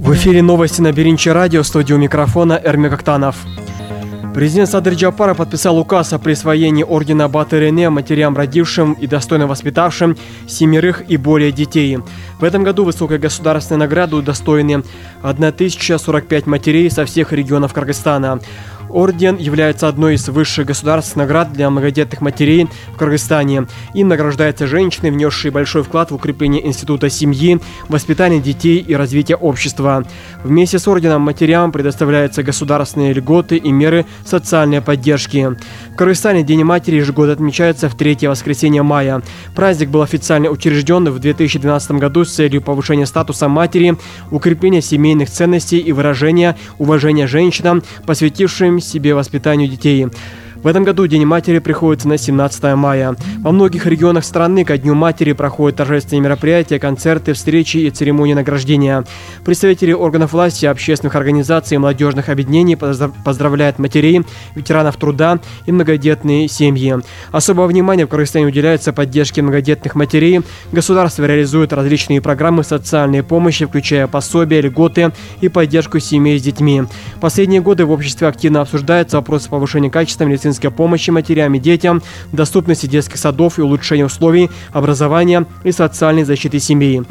В эфире новости на Биринчи радио, студию микрофона Эрмек Актанов. Президент Садыр Джапаров подписал указ о присвоении ордена Батыр-Эне матерям, родившим и достойно воспитавшим 7 и более детей. В этом году высокой государственной награды удостоены 1045 матерей со всех регионов Кыргызстана. Орден является одной из высших государственных наград для многодетных матерей в Кыргызстане. Им награждаются женщины, внесшие большой вклад в укрепление института семьи, воспитание детей и развитие общества. Вместе с орденом матерям предоставляются государственные льготы и меры социальной поддержки. В Кыргызстане День матери ежегодно отмечается в 3-е воскресенье мая. Праздник был официально учрежден в 2012 году с целью повышения статуса матери, укрепления семейных ценностей и выражения уважения женщинам, посвятившим себе воспитанию детей. В этом году День матери приходится на 17 мая. Во многих регионах страны ко Дню матери проходят торжественные мероприятия, концерты, встречи и церемонии награждения. Представители органов власти, общественных организаций и молодежных объединений поздравляют матерей, ветеранов труда и многодетные семьи. Особое внимание в Кыргызстане уделяется поддержке многодетных матерей. Государство реализует различные программы социальной помощи, включая пособия, льготы и поддержку семей с детьми. В последние годы в обществе активно обсуждаются вопросы повышения качества медицинской помощи матерям и детям, доступности детских садов и улучшения условий образования и социальной защиты семьи.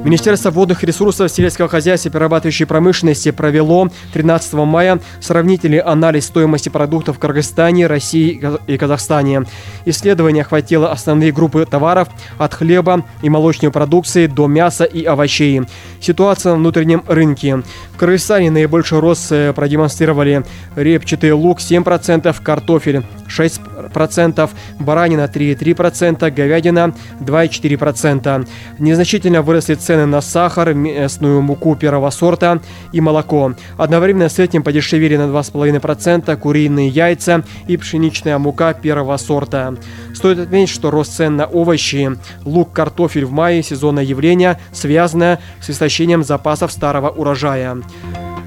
Министерство водных ресурсов, сельского хозяйства и перерабатывающей промышленности провело 13 мая сравнительный анализ стоимости продуктов в Кыргызстане, России и Казахстане. Исследование охватило основные группы товаров от хлеба и молочной продукции до мяса и овощей. Ситуация на внутреннем рынке. В Кыргызстане наибольший рост продемонстрировали репчатый лук 7%, картофель 6%, баранина 3,3%, говядина 2,4%. Незначительно выросли цены на сахар, местную муку первого сорта и молоко. Одновременно с этим подешевели на 2,5% куриные яйца и пшеничная мука первого сорта. Стоит отметить, что рост цен на овощи, лук, картофель в мае – сезонное явление, связанное с истощением запасов старого урожая.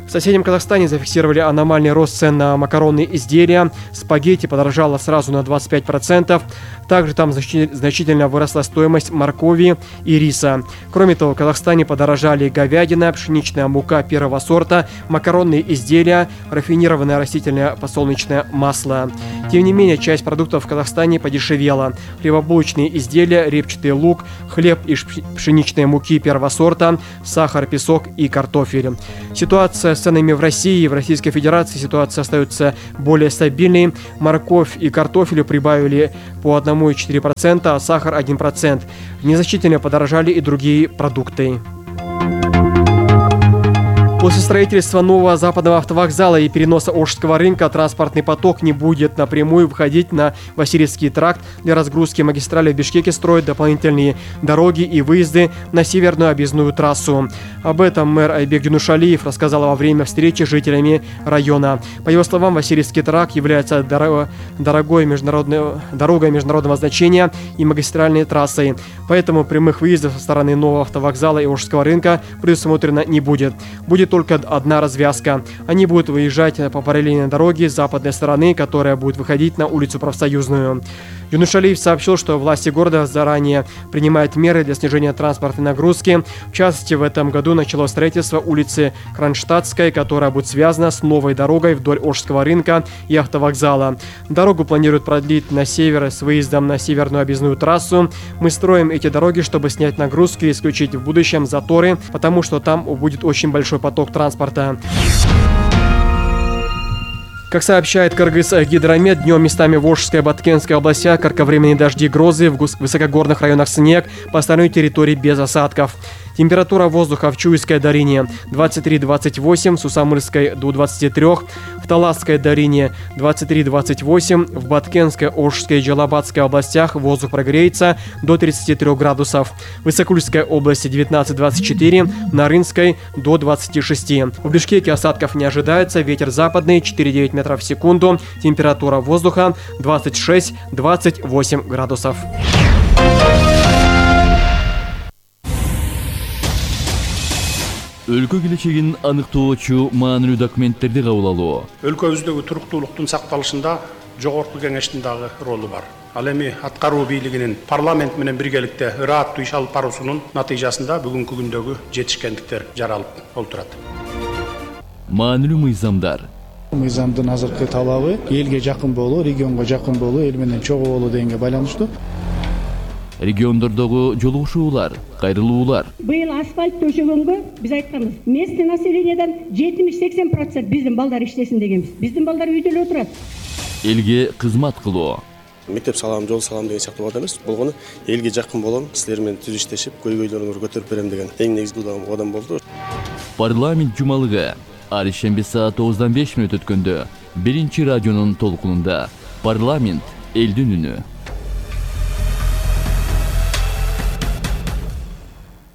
В соседнем Казахстане зафиксировали аномальный рост цен на макаронные изделия. Спагетти подорожало сразу на 25%. Также там значительно выросла стоимость моркови и риса. Кроме того, в Казахстане подорожали говядина, пшеничная мука первого сорта, макаронные изделия, рафинированное растительное подсолнечное масло. Тем не менее, часть продуктов в Казахстане подешевела. Хлебобулочные изделия, репчатый лук, хлеб из пшеничной муки первого сорта, сахар, песок и картофель. Ситуация с ценами в России и в Российской Федерации ситуация остается более стабильной. Морковь и картофелю прибавили по 1,4%, а сахар 1%. Незначительно подорожали и другие продукты. После строительства нового западного автовокзала и переноса Ошского рынка транспортный поток не будет напрямую выходить на Васильевский тракт. Для разгрузки магистрали в Бишкеке строят дополнительные дороги и выезды на северную объездную трассу. Об этом мэр Айбек Юнушалиев рассказал во время встречи с жителями района. По его словам, Васильевский тракт является дорогой дорогой международного значения и магистральной трассой. Поэтому прямых выездов со стороны нового автовокзала и Ошского рынка предусмотрено не будет. Будет только одна развязка. Они будут выезжать по параллельной дороге с западной стороны, которая будет выходить на улицу Профсоюзную. Юнушалиев сообщил, что власти города заранее принимают меры для снижения транспортной нагрузки. В частности, в этом году началось строительство улицы Кронштадтской, которая будет связана с новой дорогой вдоль Ошского рынка и автовокзала. Дорогу планируют продлить на север с выездом на северную объездную трассу. Мы строим эти дороги, чтобы снять нагрузки и исключить в будущем заторы, потому что там будет очень большой поток транспорта. Как сообщает Кыргызгидромет, днем местами в Ошской и Баткенской областях кратковременные дожди и грозы, в высокогорных районах снег, по остальной территории без осадков. Температура воздуха в Чуйской долине 23-28, в Сусамырской до 23, в Таласской долине 23-28, в Баткенской, Ошской и Джалабадской областях воздух прогреется до 33 градусов, в Исакульской области 19-24, на Рынской до 26. В Бишкеке осадков не ожидается, ветер западный 4,9 метров в секунду, температура воздуха 26-28 градусов. Өлкө келечегин аныктоочу маанилүү документтерди кабыл алуу. Өлкөбүздөгү туруктуулуктун сакталышында жогорку кеңештин дагы ролу бар. Ал эми аткаруу бийлигинин парламент менен биргеликте ырааттуу иш алып баруусунун натыйжасында бүгүнкү күндөгү жетишкендиктер жаралып олтурат. Маанилүү мыйзамдар. Мыйзамдын азыркы талабы элге жакын болуу, регионго жакын болуу, эл менен чогуу болуу дегенге байланыштуу. Региондордогу жолугушуулар, кайрылуулар. Быйыл асфальт төшөгөнгө биз айтканбыз. Местный населениеден 70-80% биздин балдар иштесин дегенбиз. Биздин балдар үйдө эле отурат. Элге кызмат кылуу. Мектеп салам, жол салам деген сыяктуу бат эмес. Болгону элге жакын болом, силер менен түз иштешип, көйгөйлөрүңөрдү көтөрүп берем деген эң негизги кадам болду. Парламент жумалыгы ар шемби саат 9:05 өткөндө 1 радионун толкунунда парламент элдин үнү.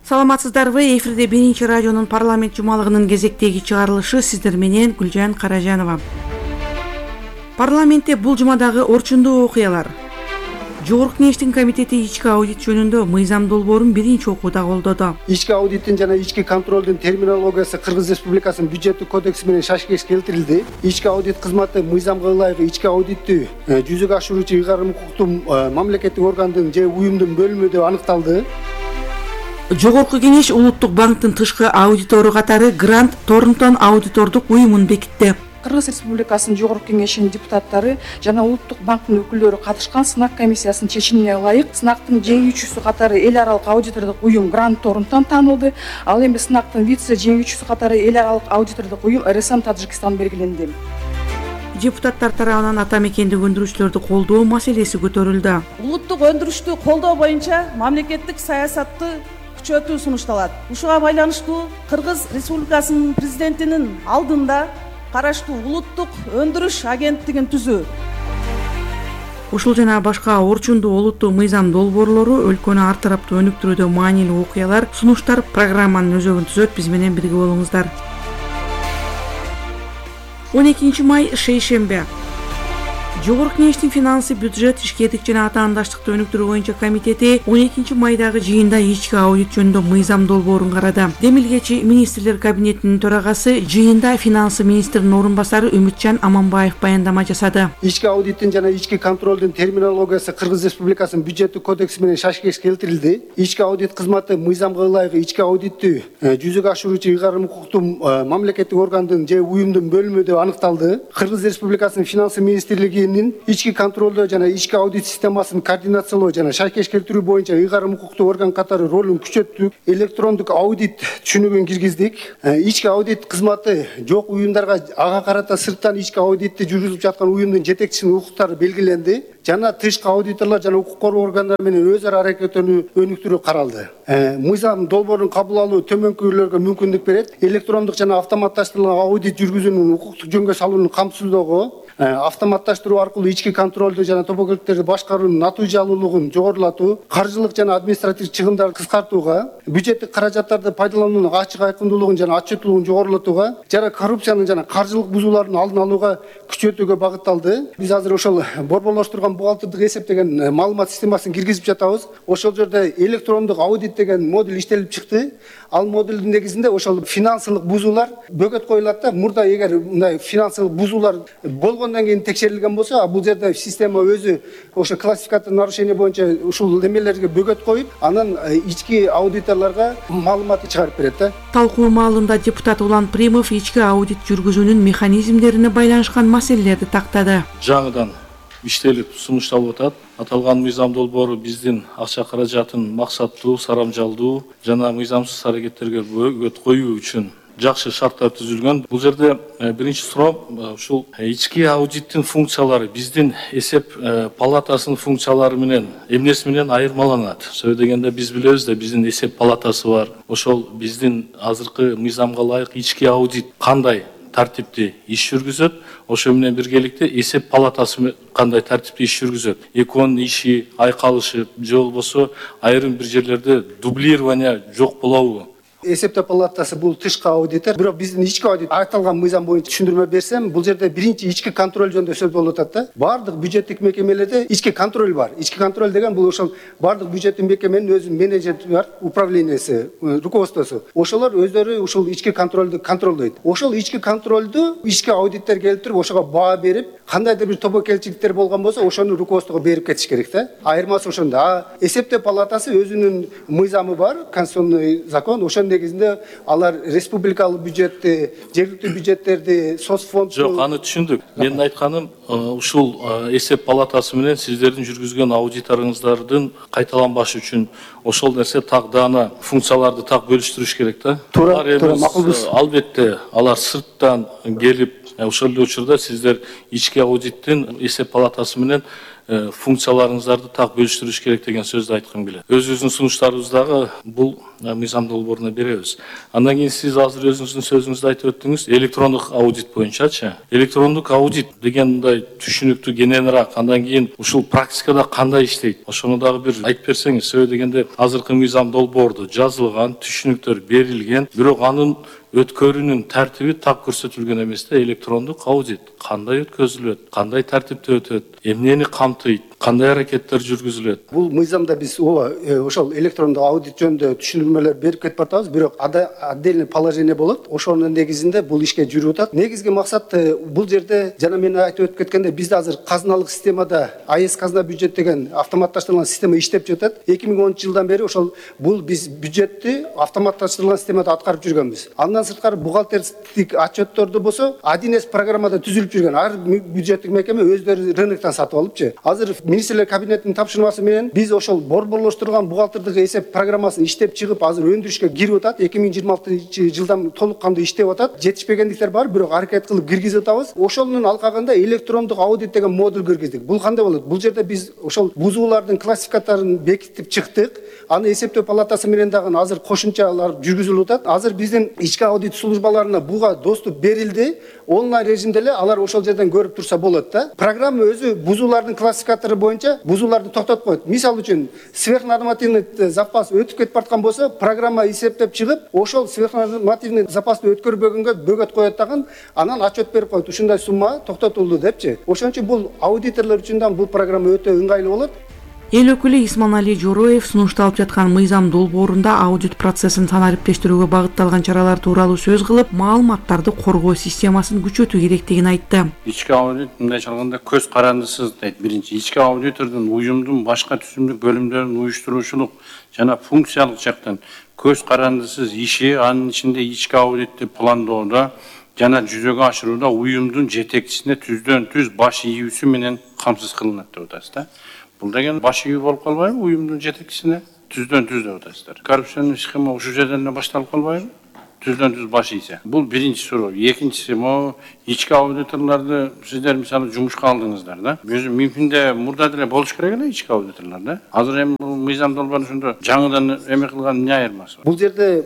Саламатсыздарбы? Эфирде 1 радионун парламент жумалыгынын кезектеги чыгарылышы сиздер менен Гүлжан Каражанова. Парламентте бул жумадагы орчундуу окуялар. Жогорку кеңештин комитети ички аудит жөнүндө мыйзам долбоорун биринчи окууда колдоду. Ички аудиттин жана ички контролдун терминологиясы Кыргыз Республикасынын бюджеттик кодекси менен шашкеш келтирилди. Ички аудит кызматы мыйзамга ылайык ички аудиттү жүзөгө ашыруучу ыйгарым укуктуу мамлекеттик органдын же уюмдун бөлүмү деп аныкталды. Жогорку кеңеш Улуттук банктын тышкы аудитору катары Грант Торнтон аудитордук уюмун бекитти. Кыргыз Республикасынын Жогорку кеңешинин депутаттары жана Улуттук банктын өкүлдөрү катышкан сынак комиссиясынын чечимине ылайык сынактын жеңүүчүсү катары эл аралык аудитордук уюм Грант Торнтон таанылды. Ал эми сынактын вице жеңүүчүсү катары эл аралык аудитордук уюм РСМ Таджикистан белгиленди. Депутаттар тарабынан ата мекендик өндүрүүчүлөрдү колдоо маселеси көтөрүлдү. Улуттук өндүрүштү колдоо боюнча мамлекеттик саясатты күчөтүү сунушталат. Ушуга байланыштуу Кыргыз Республикасынын президентинин алдында караштуу улуттук өндүрүш агенттигин түзүү. Ушул жана башка орчундуу олуттуу мыйзам долбоорлору өлкөнү ар тараптуу өнүктүрүүдө маанилүү окуялар, сунуштар программанын өзөгүн түзөт. Биз менен бирге болуңуздар. 12 май шейшембе. Жогорку кеңештин финансы, бюджет, ишкердик жана атаандаштыкты өнүктүрүү боюнча комитети 12 майдагы жыйында ички аудит жөнүндө мыйзам долбоорун карады. Демилгечи министрлер кабинетинин төрагасы жыйында финансы министринин орун басары Үмүтжан Аманбаев баяндама жасады. Ички аудиттин жана ички контролдун терминологиясы Кыргыз Республикасынын бюджеттик кодекси менен шашкеш келтирилди. Ички аудит кызматы мыйзамга ылайык ички аудиттү жүзөгө ашыруучу ыйгарым укуктуу мамлекеттик органдын же уюмдун бөлүмү деп аныкталды. Кыргыз Республикасынын финансы министрлиги ички контролдоо жана ички аудит системасын координациялоо жана шайкеш келтирүү боюнча ыйгарым укуктуу орган катары ролун күчөттүк. Электрондук аудит түшүнүгүн киргиздик. Ички аудит кызматы жок уюмдарга ага карата сырттан ички аудитти жүргүзүп жаткан уюмдун жетекчисинин укуктары белгиленди. Жана тышкы аудиторлор жана укук коргоо органдары менен өз ара аракеттенүү өнүктүрүү каралды. Мыйзам долбоорун кабыл алуу төмөнкүлөргө мүмкүндүк берет. Электрондук жана автоматташтырылган аудит жүргүзүүнүн укуктук жөнгө салуунун камсыздоого, автоматташтыруу аркылуу ички контролду жана тобокелдиктерди башкаруунун натыйжалуулугун жогорулатуу, каржылык жана административдик чыгымдарды кыскартууга, бюджеттик каражаттарды пайдалануунун ачык айкындуулугун жана отчеттуулугун жогорулатууга, жана коррупциянын жана каржылык бузуулардын алдын алууга күчөтүүгө багытталды. Биз азыр ошол борборлоштурган бухгалтердик эсеп деген маалымат системасын киргизип жатабыз. Ошол жерде электрондук аудит деген модуль иштелип чыкты. Ал модулдун негизинде ошол финансылык бузуулар бөгөт коюлат да. Мурда эгер мындай финансылык бузуулар болгондон кийин текшерилген болсо, бул жерде система өзү ошо классификация нарушение боюнча ушул немелерге бөгөт коюп, анан ички аудиторлорго маалыматты чыгарып берет да. Талкуу маалында депутат Улан Примов ички аудит жүргүзүүнүн механизмдерине байланышкан маселелерди тактады. Жаңыдан иштелип сунушталып атат. Аталган мыйзам долбоору биздин акча каражатын максаттуу, сарамжалдуу жана мыйзамсыз аракеттерге бөгөт коюу үчүн жакшы шарттар түзүлгөн. Бул жерде биринчи суроо ушул ички аудиттин функциялары биздин эсеп палатасынын функциялары менен эмнеси менен айырмаланат. Сөзсүз дегенде биз билебиз да биздин эсеп палатасы бар. Ошол биздин азыркы мыйзамга ылайык ички аудит кандай тартипти иш жүргүзөт, ошо менен биргеликте эсеп палатасы кандай тартипти иш жүргүзөт. Экөөнүн иши айкалышып, же болбосо айрым бир жерлерде дублирование жок болобу? эсептөө палатасы бул тышкы аудитор, бирок биздин ички аудит айтылган мыйзам боюнча түшүндүрмө берсем, бул жерде биринчи ички контроль жөнүндө сөз болуп атат да. Бардык бюджеттик мекемелерде ички контроль бар. Ички контроль деген бул ошол бардык бюджеттик мекеменин өзүнүн менеджери бар, управлениясы, руководствосу. Ошолор өздөрү ушул ички контролду контролдойт. Ошол ички контролду ички аудиттер келип туруп ошого баа берип, кандайдыр бир тобокелчиликтер болгон болсо, ошону руководствого берип кетиш керек да. Айырмасы ошондо. Эсептөө палатасы өзүнүн мыйзамы бар, конституционный закон. Ошонун негизинде алар республикалык бюджетти, жергиликтүү бюджеттерди, соцфонд. Жок, аны түшүндүк. Менин айтканым, ушул эсеп палатасы менен сиздердин жүргүзгөн аудиторуңуздардын кайталанбашы үчүн ошол нерсе так даана функцияларды так бөлүштүрүш керек да. Туура, макулбуз. Албетте, алар сырттан келип, ошол эле учурда сиздер ички аудиттин эсеп палатасы менен функцияларыңыздарды так бөлүштүрүш керек деген сөздү айткым келет. Өзүбүздүн сунуштарыбыздагы бул мыйзам долбооруна беребиз. Андан кийин сиз азыр өзүңүздүн сөзүңүздө айтып өттүңүз, электрондук аудит боюнчачы. Электрондук аудит деген мындай түшүнүктүү, кененирээк, андан кийин ушул практикада кандай иштейт? Ошону дагы бир айтып берсеңиз. Себеби дегенде азыркы мыйзам долбоордо жазылган, түшүнүктөр берилген, бирок анын өткөрүүнүн тартиби так көрсөтүлгөн эмес да. Электрондук аудит кандай өткөзүлөт, кандай тартипте өтөт, эмнени камтыйт, кандай аракеттер жүргүзүлөт? Бул мыйзамда биз ошол электрондук аудит жөнүндө түшүндүрмөлөр берип кетип атабыз, бирок отдельный положение болот. Ошонун негизинде бул ишке жүрүп атат. Негизги максат бул жерде жана мен айтып өтүп кеткенде, бизде азыр казыналык системада АЭС казына бюджет деген автоматташтырылган система иштеп жатат. 2010 жылдан бери ошол бул биз бюджетти автоматташтырылган системада аткарып жүргөнбүз. Андан сырткары бухгалтердик отчетторду болсо 1С программада түзүлүп жүргөн. Ар бюджеттик мекеме өздөрү рыноктон сатып алыпчы. Азыр министрлер кабинетинин тапшырмасы менен биз ошол борборлоштурган бухгалтердик эсеп программасын иштеп чыгып, азыр өндүрүшкө кирип атат. 2026 жылдан толук кандуу иштеп атат. Жетишпегендиктер бар, бирок аракет кылып киргизип атабыз. Ошонун алкагында электрондук аудит деген модуль киргиздик. Бул кандай болот? Бул жерде биз ошол бузуулардын классификаторун бекитип чыктык. Аны эсептөө палатасы менен дагы азыр кошумчалар жүргүзүлүп атат. Азыр биздин ички аудит службаларына буга доступ берилди. Онлайн режимде эле алар ошол жерден көрүп турса болот да. Программа өзү бузуулардын классификатору боюнча бузууларды токтотуп коет. Мисал үчүн сверхнормативный запас өтүп кетип бараткан болсо, программа эсептеп чыгып, ошол сверхнормативный запасты өткөрбөгөнгө бөгөт коет дагы, анан отчет берип коет. Ушундай сумма токтотулду депчи. Ошон үчүн бул аудиторлор үчүн да бул программа өтө ыңгайлуу болот. Эл өкүлү Исманали Жороев сунушталып жаткан мыйзам долбоорунда аудит процессин санариптештирүүгө багытталган чаралар тууралуу сөз кылып, маалыматтарды коргоо системасын күчөтүү керектигин айтты. Ички аудит мындайча алганда көз карандысыз дейт. Биринчи, ички аудитордун уюмдун башка түзүмдүк бөлүмдөрүн уюштуруучулук жана функциялык жактан көз карандысыз иши, анын ичинде ички аудитти пландоодо жана жүзөгө ашырууда уюмдун жетекчисине түздөн түз баш ийүүсү менен камсыз кылынат деп атасыз да. Бул деген баш ийүү болуп калбайбы уюмдун жетекчисине? Түздөн түз деп атасыздар. Коррупционный схема ушул жерден эле башталып калбайбы? Түздөн түз баш ийсе. Бул биринчи суроо. Экинчиси, могу ички аудиторлорду сиздер мисалы жумушка алдыңыздар да. Өзү мүмкүндө мурда деле болуш керек эле ички аудиторлор да. Азыр эми бул мыйзам долбоорун ошондо жаңыдан эме кылган эмне айырмасы бар? Бул жерде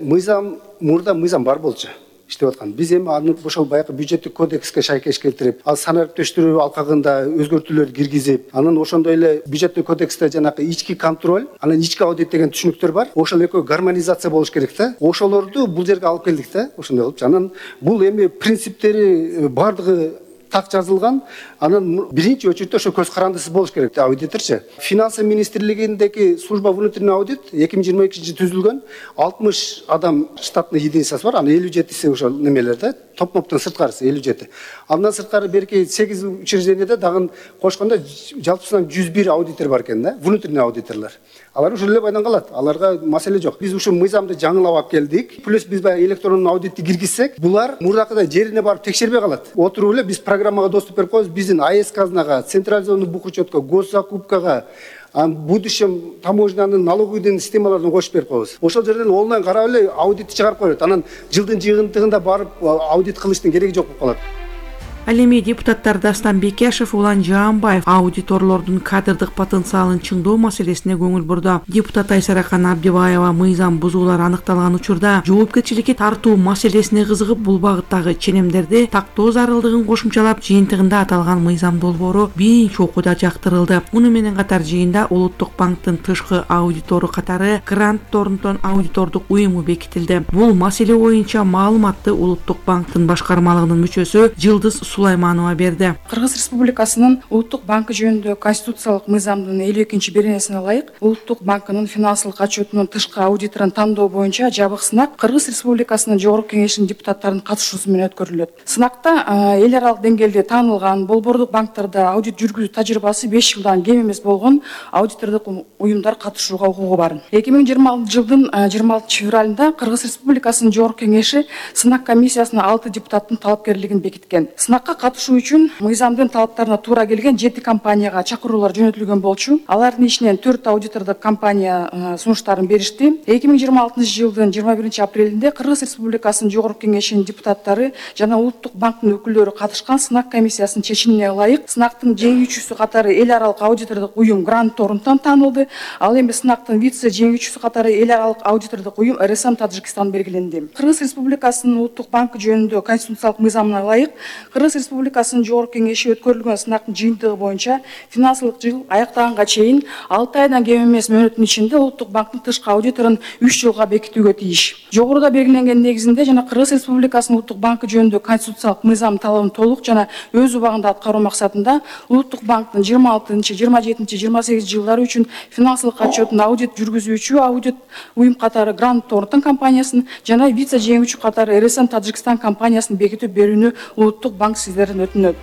мурда мыйзам бар болчу. Иштеп аткан. Биз эми аны ошол баягы бюджеттик кодекске шайкеш келтирип, ал санариптештирүү алкагында өзгөртүүлөр киргизип, анан ошондой эле бюджеттик кодексте жанагы ички контроль, анан ички аудит деген түшүнүктөр бар. Ошол экөө гармонизация болуш керек да. Ошолорду бул жерге алып келдик да. Ошондой кылып, анан бул эми принциптери бардыгы так жазылган. Анан биринчи очередде ошо көз карандысыз болуш керек аудиторчу. Финансы министрлигиндеги служба внутренний аудит 2022 түзүлгөн. 60 адам штатный единицасы бар. Анын 57си ошол немелерде, топ-топтон сырткарысы 57. Андан сырткары берки 8 учреждениеде дагы кошкондо жалпысынан 101 аудитор бар экен да, внутренний аудиторлор. Алар ушул эле байдан калат. Аларга маселе жок. Биз ушул мыйзамды жаңылап алып келдик. Плюс биз баягы электрондук аудитти киргизсек, булар мурдакыдай жерине барып текшербей калат. Отуруп эле биз программага доступ берип коебуз. Биздин АЭС казынага, централизованный бухучетко, госзакупкага, будущем таможнянын налоговый системаларын кошуп берип коебуз. Ошол жерден онлайн карап эле аудитти чыгарып коет. Анан жылдын жыйынтыгында барып аудит кылыштын кереги жок болуп калат. Ал эми депутаттар Дастан Бекешев, Улан Жаанбаев аудиторлордун кадрдык потенциалын чыңдоо маселесине көңүл бурду. Депутат Айсаракан Абдибаева мыйзам бузуулар аныкталган учурда жоопкерчиликке тартуу маселесине кызыгып, бул багыттагы ченемдерди тактоо зарылдыгын кошумчалап, жыйынтыгында аталган мыйзам долбоору биринчи окууда жактырылды. Муну менен катар жыйында Улуттук банктын тышкы аудитору катары Грант Торнтон аудитордук уюму бекитилди. Бул маселе боюнча маалыматты Улуттук банктын башкармалыгынын мүчөсү Жылдыз Сулайманова берди. Кыргыз Республикасынын Улуттук банкы жөнүндө конституциялык мыйзамдын 52-беренесине ылайык Улуттук банкынын финансылык отчетунун тышкы аудиторун тандоо боюнча жабык сынак Кыргыз Республикасынын Жогорку Кеңешинин депутаттарынын катышуусу менен өткөрүлөт. Сынакта эл аралык деңгээлде таанылган болбордук банктарда аудит жүргүзүү тажрыйбасы 5 жылдан кем эмес болгон аудитордук уюмдар катышууга укугу бар. 2020 жылдын 26 февралында Кыргыз Республикасынын Жогорку Кеңеши сынак комиссиясына 6 депутаттын талапкерлигин бекиткен. Сынакка катышуу үчүн мыйзамдын талаптарына туура келген 7 компанияга чакыруулар жөнөтүлгөн болчу. Алардын ичинен 4 аудитордук компания сунуштарын беришти. 2026 жылдын 21 апрелинде Кыргыз Республикасынын Жогорку Кеңешинин депутаттары жана Улуттук банктын өкүлдөрү катышкан сынак комиссиясынын чечимине ылайык сынактын жеңүүчүсү катары эл аралык аудитордук уюм Грант Торнтон таанылды. Ал эми сынактын вице жеңүүчүсү катары эл аралык аудитордук уюм РСМ Таджикистан белгиленди. Кыргыз Республикасынын Улуттук банкы жөнүндө конституциялык мыйзамына ылайык Кыргыз Республикасынын Жогорку Кеңеши өткөрүлгөн сынактын жыйынтыгы боюнча финансылык жыл аяктаганга чейин 6 айдан кем эмес мөөнөттүн ичинде Улуттук банктын тышкы аудиторун 3 жылга бекитүүгө тийиш. Жогоруда белгиленген негизинде жана Кыргыз Республикасынын Улуттук банкы жөнүндө конституциялык мыйзам талабын толук жана өз убагында аткаруу максатында Улуттук банктын 26, 27, 28 жылдары үчүн финансылык отчетун аудит жүргүзүүчү аудит уюм катары Грант Торнтон компаниясын жана вице жеңүүчү катары РСМ Таджикистан компаниясын бекитип берүүнү Улуттук банк сиздерден өтүнөт.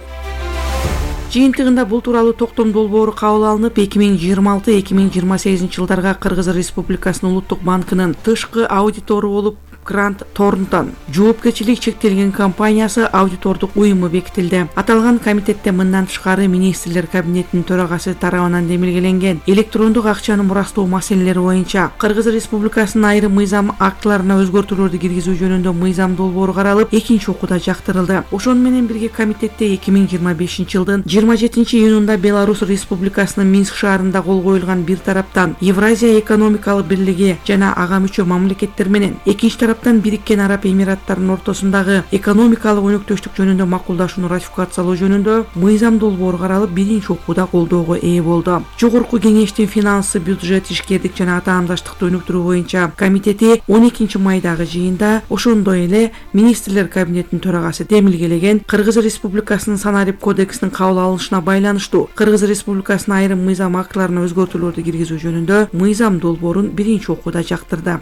Жыйынтыгында бул тууралуу токтом долбоору кабыл алынып, 2026-2028 жылдарга Кыргыз Республикасынын Улуттук банкынын тышкы аудитору болуп Грант Торнтон жоопкерчилик чектелген компаниясы аудитордук уюму бекитилди. Аталган комитетте мындан тышкары министрлер кабинетинин төрагасы тарабынан демилгеленген электрондук акчаны мурастоо маселелери боюнча Кыргыз Республикасынын айрым мыйзам актыларына өзгөртүүлөрдү киргизүү жөнүндө мыйзам долбоору каралып, экинчи окууда жактырылды. Ошону менен бирге комитетте 2025 жылдын 27 июнунда Беларусь Республикасынын Минск шаарында кол коюлган бир тараптан Евразия экономикалык бирлиги жана ага мүчө мамлекеттер менен экинчи тараптан Бириккен Араб Эмираттарынын ортосундагы экономикалык өнөктөштүк жөнүндө макулдашууну ратификациялоо жөнүндө мыйзам долбоору каралып, биринчи окууда колдоого ээ болду. Жогорку Кеңештин финансы, бюджет, ишкердик жана таамдаштыкты өнүктүрүү боюнча комитети 12 майдагы жыйында ошондой эле министрлер кабинетинин төрагасы демилгелеген Кыргыз Республикасынын Санарип кодексинин кабыл алынышына байланыштуу Кыргыз Республикасынын айрым мыйзам актыларына өзгөртүүлөрдү киргизүү жөнүндө мыйзам долбоорун биринчи окууда жактырды.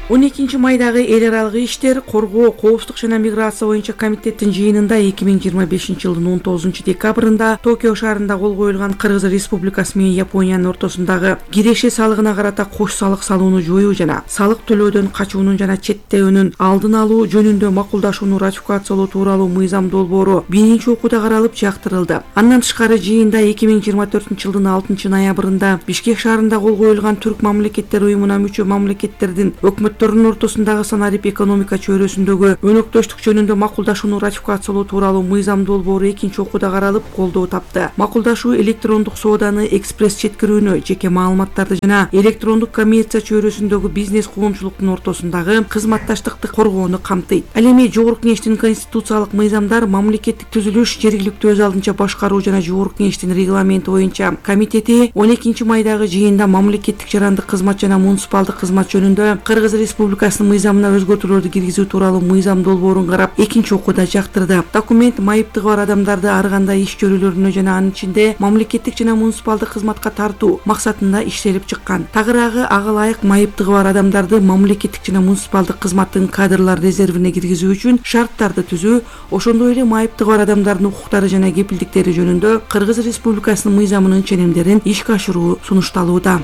12 майдагы эл аралык иштер, коргоо, коопсуздук жана миграция боюнча комитеттин жыйынында 2025 жылдын 19 декабрында Токио шаарында кол коюлган Кыргыз Республикасы менен Япониянын ортосундагы киреше салыгына карата кош салык салууну жоюу жана салык төлөөдөн качуунун жана четтөөнүн алдын алуу жөнүндө макулдашууну ратификациялоо тууралуу мыйзам долбоору биринчи окууда каралып жактырылды. Андан тышкары жыйында 2024 жылдын 6 ноябрында Бишкек шаарында кол коюлган Түрк мамлекеттер уюмуна мүчө мамлекеттердин өкмөттөрүнүн ортосундагы Санарип экономика чөйрөсүндөгү өнөктөштүк жөнүндө макулдашууну ратификациялоо тууралуу мыйзам долбоору экинчи окууда каралып колдоо тапты. Макулдашуу электрондук сооданы экспресс жеткирүүнү, жеке маалыматтарды жана электрондук коммерция чөйрөсүндөгү бизнес коомчулуктун ортосундагы кызматташтыкты коргоону камтыйт. Ал эми Жогорку Кеңештин конституциялык мыйзамдар, мамлекеттик түзүлүш, жергиликтүү өз алдынча башкаруу жана Жогорку Кеңештин регламенти боюнча комитети 12 майдагы жыйында мамлекеттик жарандык кызмат жана муниципалдык кызмат жөнүндө Кыргыз Республикасынын мыйзамына өзгөртүүлөрдү киргизүү тууралуу мыйзам долбоорун карап, экинчи окууда жактырды. Документ майыптыгы бар адамдарды ар кандай иш чөрөлөрүнө жана анын ичинде мамлекеттик жана муниципалдык кызматка тартуу максатында иштелип чыккан. Тагыраагы ага ылайык майыптыгы бар адамдарды мамлекеттик жана муниципалдык кызматтын кадрлар резервине киргизүү үчүн шарттарды түзүү, ошондой эле майыптыгы бар адамдардын укуктары жана кепилдиктери жөнүндө Кыргыз Республикасынын мыйзамынын ченемдерин ишке ашыруу сунушталууда.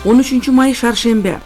13 май шаршембе.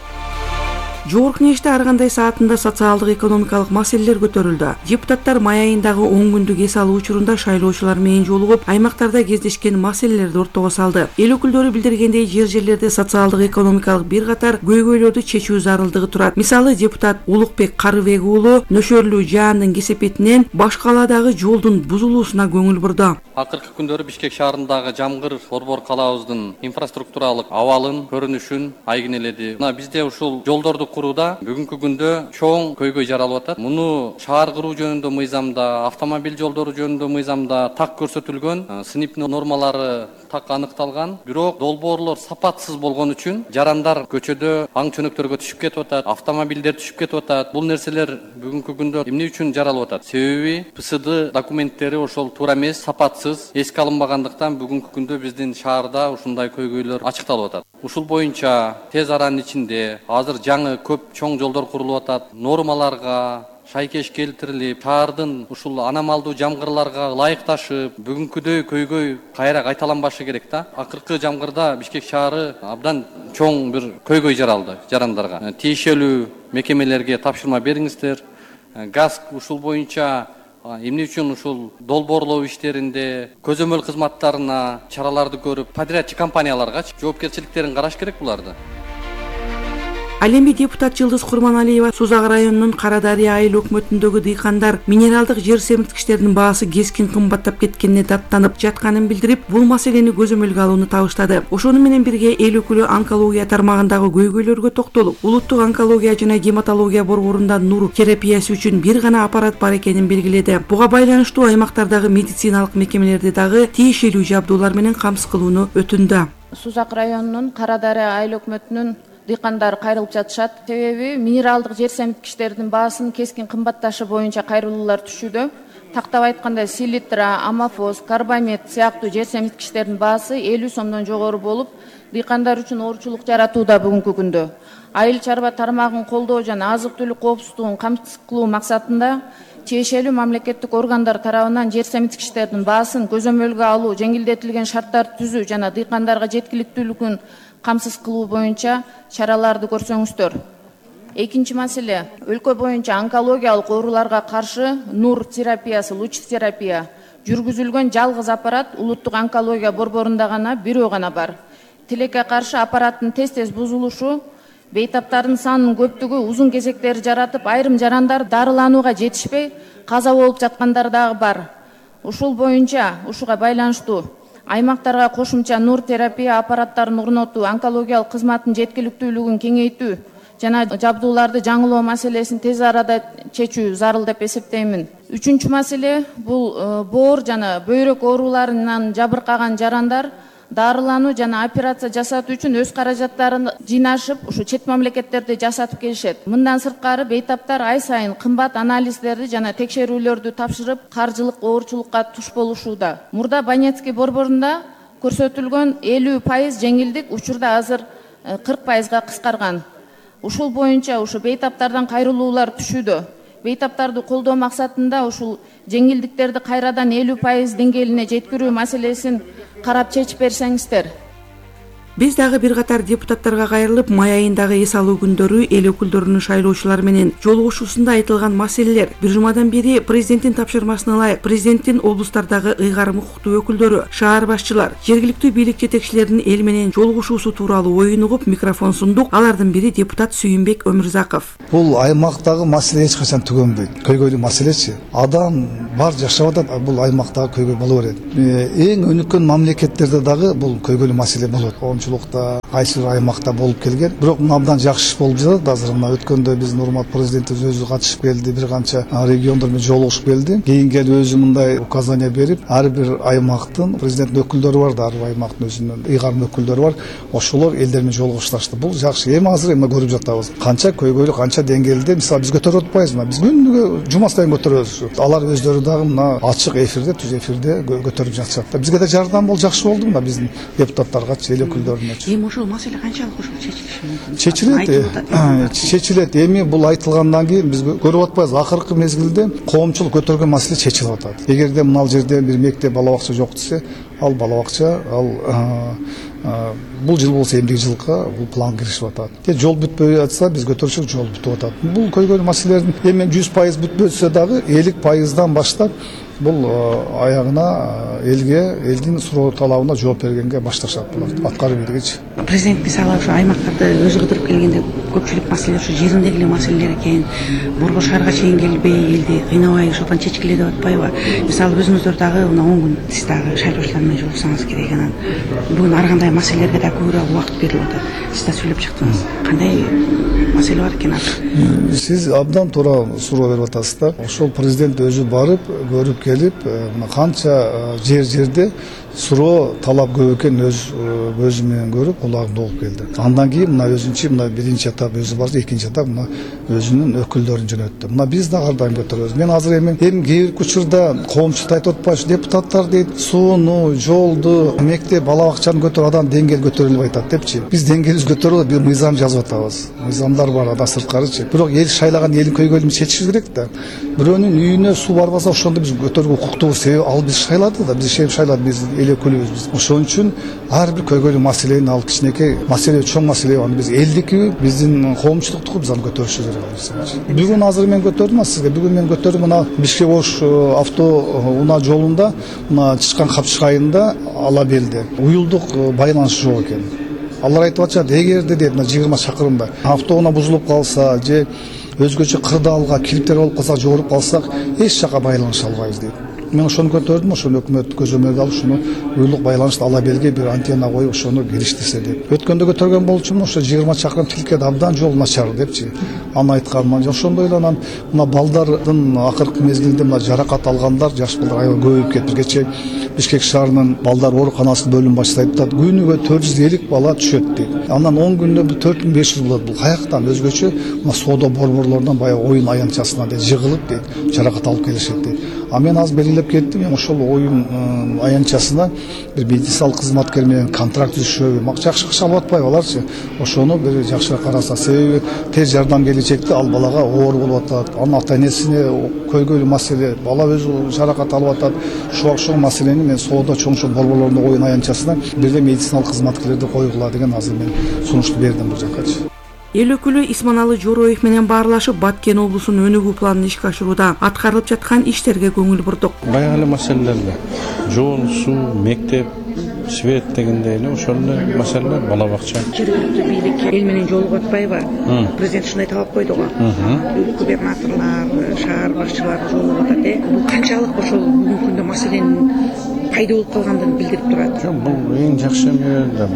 Жогорку Кеңеште ар кандай саатында социалдык экономикалык маселелер көтөрүлдү. Депутаттар май айындагы 10 күндүк эс алуу учурунда шайлоочулар менен жолугуп, аймактарда кездешкен маселелерди ортого салды. Эл өкүлдөрү билдиргендей, жерлерде социалдык экономикалык бир катар көйгөйлөрдү чечүү зарылдыгы турат. Мисалы, депутат Улукбек Карыбек уулу нөшөрлүү жаандын кесепетинен баш калаадагы жолдун бузулуусуна көңүл бурду. Акыркы күндөрү Бишкек шаарындагы Жамгыр борбор калаабыздын инфраструктуралык абалын, көрүнүшүн айгинеледи. Бизде ушул жолдорду курууда бүгүнкү күндө чоң көйгөй жаралып атат. Муну шаар куруу жөнүндө мыйзамда, автомобиль жолдору жөнүндө мыйзамда так көрсөтүлгөн, сыныптын нормалары так аныкталган. Бирок долбоорлор сапатсыз болгон үчүн жарандар көчөдө аң чөнөктөргө түшүп кетип атат, автомобилдер түшүп кетип атат. Бул нерселер бүгүнкү күндө эмне үчүн жаралып атат? Себеби ПСД документтери ошол туура эмес, сапатсыз, эске алынбагандыктан бүгүнкү күндө биздин шаарда ушундай көйгөйлөр ачыкталып атат. Ушул боюнча тез аранын ичинде азыр жаңы көп чоң жолдор курулуп атат. Нормаларга шайкеш келтирилип, шаардын ушул аномалдуу жамгырларга ылайыкташып, бүгүнкүдөй көйгөй кайра кайталанбашы керек да. Акыркы жамгырда Бишкек шаары абдан чоң бир көйгөй жаралды жарандарга. Тиешелүү мекемелерге тапшырма бериңиздер. ГАСК ушул боюнча эмне үчүн ушул долбоорлоо иштеринде, көзөмөл кызматтарына чараларды көрүп, подрядчы компанияларга жоопкерчиликтерин караш керек буларды. Ал эми депутат Жылдыз Курманалиева Сузак районунун Карадария айыл өкмөтүндөгү дыйкандар минералдык жер семирткичтердин баасы кескин кымбаттап кеткенине даттанып жатканын билдирип, бул маселени көзөмөлгө алууну табыштады. Ошону менен бирге эл өкүлү онкология тармагындагы көйгөйлөргө токтолуп, улуттук онкология жана гематология борборунда нур терапиясы үчүн бир гана аппарат бар экенин белгиледи. Буга байланыштуу аймактардагы медициналык мекемелерди дагы тиешелүү жабдуулар менен камсыз кылууну өтүндү. Сузак районунун Карадария айыл өкмөтүнүн дыйкандар кайрылып жатышат. Себеби минералдык жер семирткичтердин баасын кескин кымбатташы боюнча кайрылуулар түшүүдө. Тактап айтканда селитра, амофос, карбамид сыяктуу жер семирткичтердин баасы 50 сомдон жогору болуп, дыйкандар үчүн оорчулук жаратууда бүгүнкү күндө. Айыл чарба тармагын колдоо жана азык-түлүк коопсуздугун камсыз кылуу максатында тиешелүү мамлекеттик органдар тарабынан жер семирткичтердин баасын көзөмөлгө алуу, жеңилдетилген шарттарды түзүү жана дыйкандарга жеткиликтүүлүгүн камсыз кылуу боюнча чараларды көрсөңүздөр. Экинчи маселе, өлкө боюнча онкологиялык ооруларга каршы нур терапиясы, луч терапия жүргүзүлгөн жалгыз аппарат улуттук онкология борборунда гана бирөө гана бар. Тилекке каршы аппараттын тез бузулушу, бейтаптардын санынын көптүгү узун кезектер жаратып, айрым жарандар дарыланууга жетишпей каза болуп жаткандар дагы бар. Ушул боюнча, ушуга байланыштуу аймактарга кошумча нур терапия аппараттарын орнотуу, онкологиялык кызматтын жеткиликтүүлүгүн кеңейтүү жана жабдууларды жаңылоо маселесин тез арада чечүү зарыл деп эсептеймин. Үчүнчү маселе бул боор жана бөйрөк ооруларынан жабыркаган жарандар дарылануу жана операция жасатуу үчүн өз каражаттарын жыйнашып, ушу чет мамлекеттерде жасатып келишет. Мындан сырткары бейтаптар ай сайын кымбат анализдерди жана текшерүүлөрдү тапшырып, каржылык оорчулукка туш болушууда. Мурда Банецкий борборунда көрсөтүлгөн 50% жеңилдик учурда азыр 40%га кыскарган. Ушул боюнча ушу бейтаптардан кайрылуулар түшүүдө. Бейтаптарды колдоо максатында ушул жеңилдиктерди кайрадан 50% деңгээлине жеткирүү маселесин карап чечип берсеңиздер. Биз дагы бир катар депутаттарга кайрылып, май айындагы эс алуу күндөрү эл өкүлдөрүнүн шайлоочулар менен жолугушуусунда айтылган маселелер бир жумадан бери президенттин тапшырмасына ылайык президенттин облустардагы ыйгарым укуктуу өкүлдөрү, шаар башчылар, жергиликтүү бийлик жетекчилеринин эл менен жолугушуусу тууралуу оюн угуп микрофон сундук. Алардын бири депутат Сүйүнбек Өмүрзаков. Бул аймактагы маселе эч качан түгөнбөйт. Көйгөйлүү маселечи. Адам бар жашап атат, бул аймактагы көйгөй боло берет. Эң өнүккөн мамлекеттерде дагы бул көйгөйлүү маселе болот. Кайсы аймакта болуп келген. Бирок мына абдан жакшы болуп жатат. Азыр мына өткөндө биздин урмат президентибиз өзү катышып келди, бир канча региондор менен жолугушуп келди. Кийин келип өзү мындай указания берип, ар бир аймактын президент өкүлдөрү бар да, ар бир аймактын өзүнүн ыйгарым өкүлдөрү бар. Ошолор элдер менен жолугушташты. Бул жакшы. Эми азыр көрүп жатабыз. Канча көйгөйлүү, канча деңгээлде, мисалы биз көтөрүп атпайбызбы? Биз күнүгө жума сайын көтөрөбүз. Алар өздөрү дагы мына ачык эфирде, түз эфирде көтөрүп жатышат. Бизге да жардам бол, жакшы болду мына биздин депутаттарга, эл өкүлдөрүнө. Эми ошол маселе канчалык чечилиши мүмкүн? Чечилет. Эми бул айтылгандан кийин биз көрүп атпайбыз. Акыркы мезгилде коомчулук көтөргөн маселе чечилип атат. Эгерде мына жерде бир мектеп, бала бакча жок десе, ал бала бакча, ал бул жыл болсо эмдиги жылга бул план киришип атат. Жол бүтпөй атса биз көтөрүшөк жол бүтүп атат. Бул көйгөйлүү маселелердин эми 100% бүтпөсө дагы 50%дан баштап бул аягына элдин суроо талабына жооп бергенге башташат булар аткаруу бийлигичи. Президент мисалы ошо аймактарды өзү кыдырып келгенде көпчүлүк маселе ошо жериндеги эле маселелер экен. Борбор шаарга чейин келбей элди кыйнабай ошондон чечкиле деп атпайбы? Мисалы өзүңүздөр дагы мына 10 күн сиз дагы шайлоочулар менен жолуксаңыз керек. Анан бүгүн ар кандай маселелерге да көбүрөөк убакыт берилип атат. Сиз да сүйлөп чыктыңыз. Кандай маселе бар экен азыр? Сиз абдан туура суроо берип атасыздар. Ошол президент өзү барып көрүп келип, мына канча жерде суроо талап көп экен өзү менен көрүп, кулагында угуп келди. Андан кийин мына өзүнчө мына биринчи этап өзү барды, экинчи этап мына өзүнүн өкүлдөрүн жөнөттү. Мына биз да ар дайым көтөрөбүз. Мен азыр эми кээ бир учурда коомчулукта айтып атпайбы, депутаттар дейт, сууну, жолду, мектеп, бала бакчаны көтөрүп адам деңгээл көтөрүлүп атат депчи. Биз деңгээлибиз көтөрүлүп, бир мыйзам жазып атабыз. Мыйзамдар бар ада сырткарычы. Бирок эл шайлаган элдин көйгөйлүн чечишибиз керек да. Бирөөнүн үйүнө суу барбаса ошондо биз көтөрүүгө укуктуубуз. Себеби ал биз шайлады да, биз шайлады, биз эл өкүлүбүз биз. Ошон үчүн ар бир көйгөйлүү маселени ал кичинекей маселе, чоң маселе, аны биз элдики, биздин коомчулуктуку биз аны көтөрүшүбүз керек. Бүгүн азыр мен көтөрдүм сизге. Бүгүн мен көтөрдүм мына Бишкек-Ош автоунаа жолунда, мына Чычкан Капчык айылында ала белди. Уюлдук байланыш жок экен. Алар айтып атышат, эгерде дейт, 20 чакырымда автоунаа бузулуп калса же өзгөчө кырдаалга килиптер болуп калса, жогоруп калсак, эч жака байланыша албайбыз дейт. Мен ошону көтөрдүм, ошону өкмөт көзөмөлгө алып, ушуну уюлдук байланышты ала белге бир антенна коюп, ошону келиштирсе деп. Өткөндө көтөргөн болчумун, ошо 20 чакырым тилкеде абдан жол начар депчи. Аны айтканмын. Ошондой эле анан мына балдардын акыркы мезгилде мына жаракат алгандар, жаш балдар аябай көбөйүп кетти. Кечээ Бишкек шаарынын балдар ооруканасынын бөлүм башчысы айтып, күнүгө 450 бала түшөт дейт. Андан 10 күндө 4500 болот. Бул каяктан өзгөчө мына соода борборлорунан баягы оюн аянтчасына дейт жыгылып дейт, жаракат алып келишет дейт. А мен аз белгилеп кеттим, ошол оюн аянтчасына бир медициналык кызматкер менен контракт түзүшөбү, жакшы акча алып атпайбы аларчы. Ошону бир жакшыраак караса, себеби тез жардам келечекте ал балага оор болуп атат. Анын ата-энесине көйгөйлүү маселе, бала өзү жаракат алып атат. Ошол маселени мен соода чоң-чоң борборлорунда оюн аянтчасына бирде медициналык кызматкерлерди койгула деген азыр мен сунушту бердим бул жакачы. Эл өкүлү Исманалы Жороев менен баарлашып, Баткен облусунун өнүгүү планын ишке ашырууда аткарылып жаткан иштерге көңүл бурдук. Баягы эле маселелерге жол, суу, мектеп, свет дегендей эле ошол эле маселелер, бала бакча. Жергиликтүү бийлик эл менен жолугуп атпайбы? Президент ушундай талап койду го. Губернаторлор, шаар башчылары жолугуп атат. Бул канчалык ошол бүгүнкү күндө маселенин пайда болуп калгандыгын билдирип турат. Жок, бул эң жакшы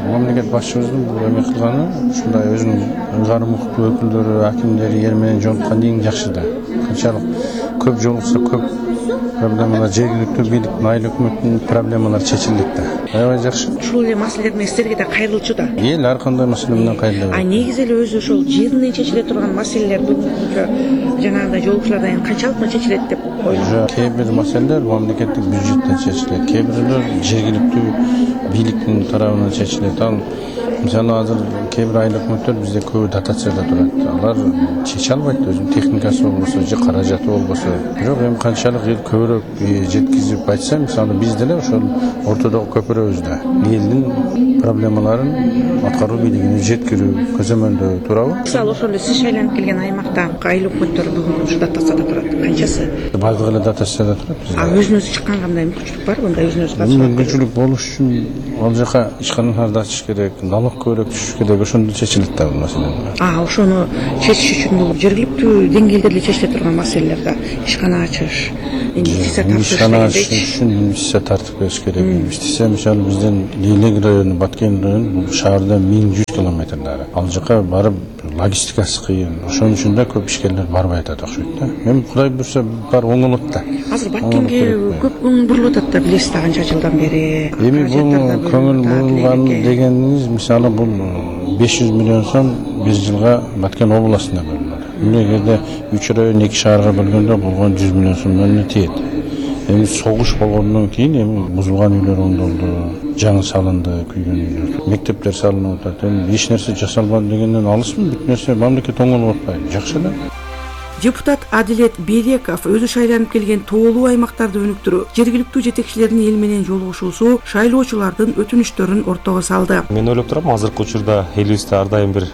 мамлекет башчыбыздын бул эме кылганы, ушундай өзүнүн ыйгарым укуктуу өкүлдөрү, акимдери эл менен жолуккан эң жакшы да. Канчалык көп жолукса көп проблемалар, жергиликтүү бийлик, айыл өкмөттүн проблемалары чечилет да. Аябай жакшы. Ушул эле маселелер менен силерге да кайрылчу да. Эл ар кандай маселе менен кайрылат. Негизи эле өзү ошол жеринен чечиле турган маселелер бүгүнкү жанагындай жолугушуулардан канчалык чечилет деп ойлойм. Кээ бир маселелер мамлекеттик бюджеттен чечилет, кээ бирөөлөр жергиликтүү бийликтин тарабынан чечилет. Ал мисалы азыр кээ бир айыл өкмөттөр бизде көбү дотацияда турат. Алар чече албайт, өзүнүн техникасы болбосо же каражаты болбосо. Бирок эми канчалык эл көбүрөөк жеткизип айтса, мисалы биз деле ошол ортодогу көпүрөбүз да. Элдин проблемаларын аткаруу бийлигине жеткирүү, көзөмөлдөө туурабы? Мисалы ошол эле сиз шайланып келген аймакта айыл өкмөттөрү бүгүн ушу дотацияда турат. Канчасы? Бардыгы эле дотацияда турат. Өзүнүз чыккан кандай мүмкүнчүлүк барбы? Мындай өзүнүз катышып? Мүмкүнчүлүк болуш үчүн ал жака ишканаларды ачыш керек, налог көбүрөөк түшүш керек, ошондо чечилет да бул маселе. Ошону чечиш үчүн бул жергиликтүү деңгээлде эле чечиле турган маселелер да. Ишкана ачыш, ишкана ачыш үчүн инвестиция тартып бериш керек. Инвестиция мисалы бизден Лейлек району, Баткен району бул шаардан 1100 километрлери. Ал жака барып логистикасы кыйын. Ошон үчүн да көп ишкерлер барбай атат окшойт да. Эми Кудай буйрса бар оңолот да. Азыр Баткенге көп көңүл бурулуп атат да, билесиз да, канча жылдан бери. Эми бул көңүл бурулган дегениңиз мисалы бул 500 миллион сом бир жылга Баткен областына бөлүнөт. Эгерде 3 район 2 шаарга бөлгөндө болгон 100 миллион сомдон тиет. Эми согуш болгондон кийин эми бузулган үйлөр оңдолду, жаңы салынды, күйгөн үйлөр, мектептер салынып атат. Эми эч нерсе жасалбады дегенден алысмы? Бүт нерсе мамлекет оңолуп атпайбы? Жакшы да. Депутат Адилет Береков өзү шайланып келген тоолуу аймактарды өнүктүрүү, жергиликтүү жетекчилердин эл менен жолугушуусу шайлоочулардын өтүнүчтөрүн ортого салды. Мен ойлоп турам, азыркы учурда элибизде ар дайым бир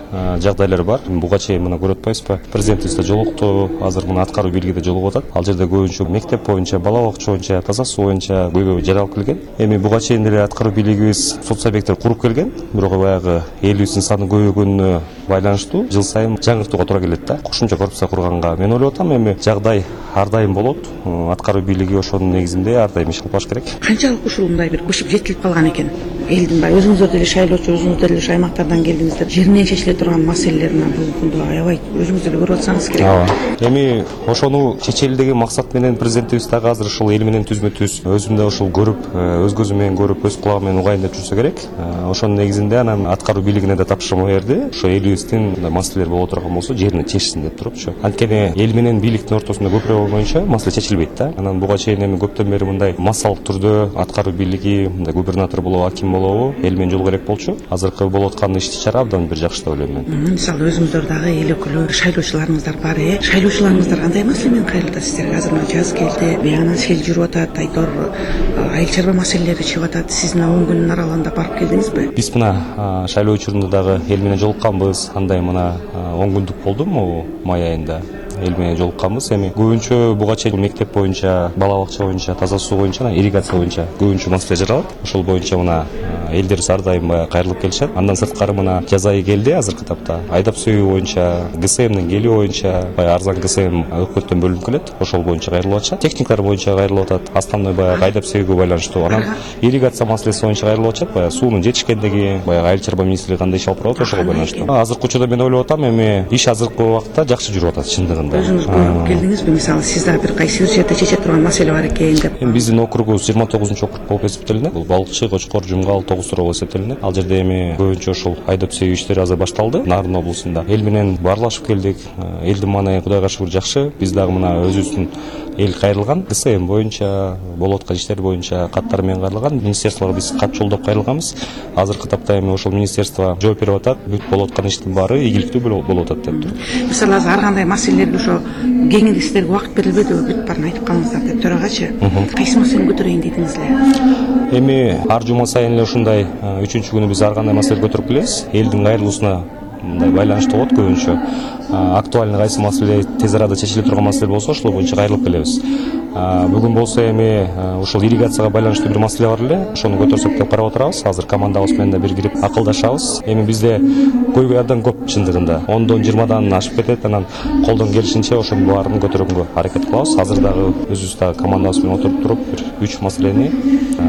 жагдайлар бар. Буга чейин мына көрүп атпайсызбы? Президентибиз да жолукту, азыр мына аткаруу бийлиги да жолугуп атат. Ал жерде көбүнчө мектеп боюнча, бала бакча боюнча, таза суу боюнча көйгөй жаралып келген. Эми буга чейин деле аткаруу бийлигибиз сот субъекттер куруп келген. Бирок баягы элибиздин саны көбөйгөнүнө байланыштуу жыл сайын жаңыртууга туура келет да. Кошумча корпуция курганга мен ойлоп атам, эми жагдай ар дайым болот. Аткаруу бийлиги ошонун негизинде ар дайым иш кылып баш керек. Канчалык ушул мындай бир көчүп жетилип калган экен? Элдин баягы өзүңүздөр деле шайлоочу, өзүңүздөр деле аймактардан келдиңиздер. Жеринен чечиле турган маселелер менен бүгүнкү күндө аябай өзүңүз деле көрүп атсаңыз керек. Эми ошону чечели деген максат менен президентибиз дагы азыр ушул эл менен түзмө-түз өзүм да ушул көрүп, өз көзүм менен көрүп, өз кулагым менен угайын деп жүрсө керек. Ошонун негизинде анан аткаруу бийлигине да тапшырма берди. Ошо элибиздин маселелер боло турган болсо жерине чечсин деп турупчу. Анткени эл менен бийликтин ортосунда көпүрө болмоюнча маселе чечилбейт да. Анан буга чейин эми көптөн бери мындай массалык түрдө аткаруу бийлиги, мындай губернатор болобу, аким болобу эл менен жол керек болчу. Азыркы болуп аткан иш-чара абдан бир жакшы деп ойлойм мен. Мисалы өзүңүздөр дагы эл өкүлү, шайлоочуларыңыздар бар. Шайлоочуларыңыздар кандай маселе менен кайрылат сиздерге? Азыр мына жаз келди, быягынан сел жүрүп атат, айтор айыл чарба маселелери чыгып атат. Сиз мына 10 күндүн аралыгында барып келдиңизби? Биз мына шайлоо учурунда дагы эл менен жолукканбыз. Андай мына 10 күндүк болду могу май айында эл менен жолукканбыз. Эми көбүнчө буга чейин мектеп боюнча, бала бакча боюнча, таза суу боюнча, ирригация боюнча көбүнчө маселе жаралат. Ошол боюнча мына элдер ар дайым кайрылып келишет. Андан сырткары мына жаз айы келди азыркы тапта. Айдап сүйүү боюнча, ГСМдин келүү боюнча, арзан ГСМ өкмөттөн бөлүнүп келет. Ошол боюнча кайрылып атышат. Техниктер боюнча кайрылып атат. Основной айдап сүйүүгө байланыштуу. Анан ирригация маселеси боюнча кайрылып атышат. Суунун жетишкендиги, айыл чарба министрлиги кандай иш алып барат, ошого байланыштуу. Азыркы учурда мен ойлоп атам, эми иш азыркы убакытта жакшы жүрүп атат чындыгында. Өзүңүз көрүп келдиңизби? Мисалы сиз дагы бир кайсы жерде чече турган маселе бар экен деп. Эми биздин округубуз 29-округ болуп эсептелинет. Бул Балыкчы, Кочкор, Жумгал, Тогуз Суроо болуп эсептелинет. Ал жерде эми көбүнчө ушул айдап сүйүү иштери азыр башталды Нарын облусунда. Эл менен баарлашып келдик. Элдин маанайы Кудайга шүгүр жакшы. Биз дагы мына өзүбүздүн эл кайрылган, ГСМ боюнча, болуп аткан иштер боюнча каттар менен кайрылган. Министрликке биз кат жолдоп кайрылганбыз. Азыркы тапта эми ошол министрликко жооп берип атат. Бүт болуп аткан иштин баары ийгиликтүү болуп атат деп тур. Мисалы азыр ар кандай маселелерге ошо кеңири сиздерге убакыт берилбедиби? Бүт баарын айтып калыңыздар деп төрагачы. Кайсы маселени көтөрөйүн дедиңиз эле? Эми ар жума сайын эле ушундай 3-күнү биз ар кандай маселе көтөрүп келебиз. Элдин кайрылуусуна мындай байланыштуу болот көбүнчө. Актуальный кайсы маселе тез арада чечиле турган маселе болсо ошол боюнча кайрылып келебиз. Бүгүн болсо эми ушул ирригацияга байланыштуу бир маселе бар эле. Ошону көтөрсөк деп карап отурабыз. Азыр командабыз менен да бир кирип акылдашабыз. Эми бизде көйгөй абдан көп чындыгында. 10-дон 20-дан ашып кетет. Анан колдон келишинче ошонун баарын көтөргөнгө аракет кылабыз. Азыр дагы өзүбүз дагы командабыз менен отуруп туруп бир 3 маселени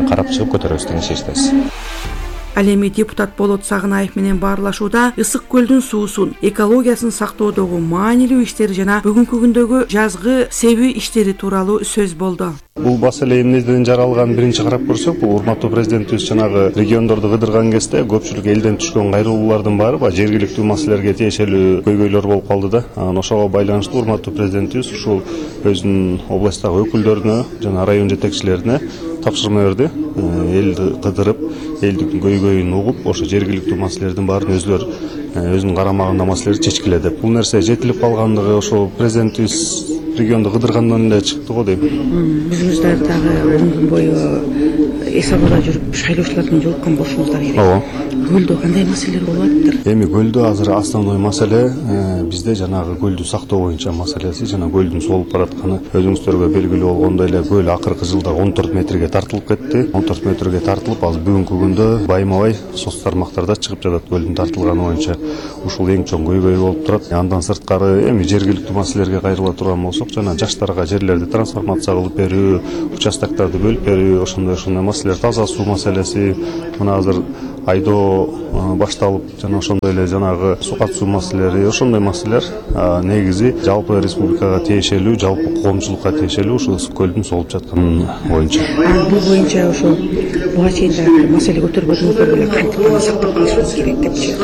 карап чыгып көтөрөбүз деген чечтебиз. Ал эми депутат Болот Сагынаев менен баарлашууда Ысык көлдүн суусун, экологиясын сактоодогу маанилүү иштери жана бүгүнкү күндөгү жазгы себи иштери тууралуу сөз болду. Бул маселе эмнеден жаралганын биринчи карап көрсөк, бул урматтуу президентибиз жанагы региондорду кыдырган кезде көпчүлүк элден түшкөн кайрылуулардын баары жергиликтүү маселелерге тиешелүү көйгөйлөр болуп калды да. Анан ошого байланыштуу урматтуу президентибиз ушул өзүнүн областтагы өкүлдөрүнө жана район жетекчилерине тапшырма берди. Элди кыдырып, элдин көйгөйүн угуп, ошо жергиликтүү маселелердин баарын өзүнүн карамагында маселелерди чечкиле деп. Бул нерсе жетилип калгандыгы ошо президентибиз регионду кыдыргандан эле чыкты го дейм. Өзүңүздөр дагы 10 күн бою эс абада жүрүп шайлоочулар менен жолуккан болушуңуздар керек. Ооба. Көлдө кандай маселелер болуп атыптыр? Эми көлдө азыр основной маселе бизде жанагы көлдү сактоо боюнча маселеси, жана көлдүн соолуп баратканы. Өзүңүздөргө белгилүү болгондой эле көл акыркы жылда 14 метрге тартылып кетти. 14 метрге тартылып, азыр бүгүнкү күндө байма-бай соц тармактарда чыгып жатат көлдүн тартылганы боюнча. Ушул эң чоң көйгөй болуп турат. Андан сырткары эми жергиликтүү маселелерге кайрыла турган болсок, жана жаштарга жерлерди трансформация кылып берүү, участокторду бөлүп берүү, ошондой маселелер, таза суу маселеси, мына азыр айдоо башталып, жана ошондой эле жанагы суу катышуу маселелери, ошондой маселелер негизи жалпы республикага тиешелүү, жалпы коомчулукка тиешелүү ушул Ысык көлдүн соолуп жатканы боюнча. Бул боюнча ошо буга чейин да маселе көтөрбөдүңүздөр беле кантип сактап калышыбыз керек депчи.